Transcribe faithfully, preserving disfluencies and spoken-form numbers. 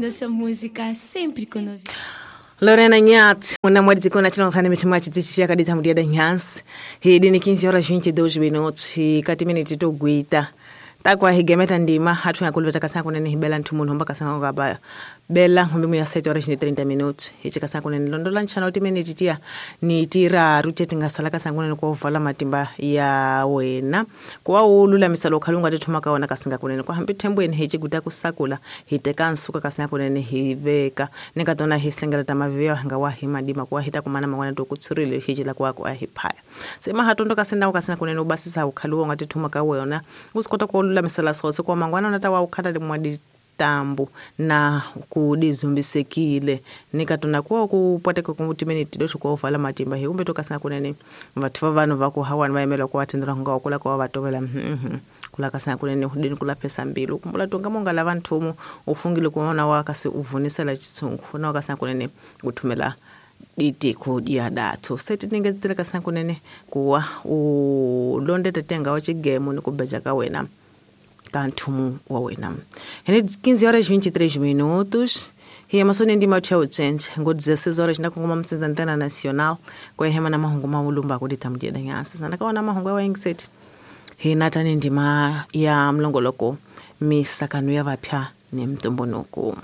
Tocando sua música sempre com novidade. Lorena Nhat, una mwadi kona chino khane mithu mwa chitsitsi yakadita mudiada nyansi. Hidi ni quinze horas vinte e dois minutos e kati minute to guita. Takwa higemeta ndima hatu ya kuliveta kasanga kunene hibela nthu munhu homba kasanga ngaba bela hombe muya sete horas ni trinta minutos. Hichi kasanga kunene londola nchana uti minute tia ni tira rute tingasala kasanga kunene kwa uvala matimba ya wena. Kwa ulula misalo kalunga tethuma kaona kasinga kunene kwa hambi thembweni hichi guta kusakula hiteka nsuka kasanga kunene hiveka nikatona hisengela tamavia hanga wa himadima kwa hita kumana mangwana tokutsurile hichi la kwa kwa hiphaya. Sema hatondo kasenda kasanga kunene ubasisa ukhaluwa ngatethuma kawena usikota kwa ulula misala sotse kwa mangwana nata wa ukhata limwadi tambu na kudizumbisekile nikatona kwa kupateka kumutimeni tidoto kwa uvala matimba hiumbe tokasanga kunene vathu va vanhu va ku hawani va yimela ku atendela nga kula kwa vatovela mhm kula kasanga kunene hudini kula pesa mbilu kumbula tonga monga la vanthumu ufungile kuona wakasi uvunisela chitsungu na wakasanga kunene uthumela ditiko dia dathu seti ningetela kasanga kunene kuwa ulonde tetenga wa chigemo ni kubeja ka wena kanthumu wa wena. Hene quinze horas vinte e três minutos. Hi amasoni ndima tya uchenje ngo dezesseis horas na kungoma mtsinza antena nacional kwa hema na mahungu maulumba kudita mjeda nyasi sana kaona mahungu wa ingiseti. Hi natani ndima ya mlongoloko misakanu ya vapya ni mtumbunuku.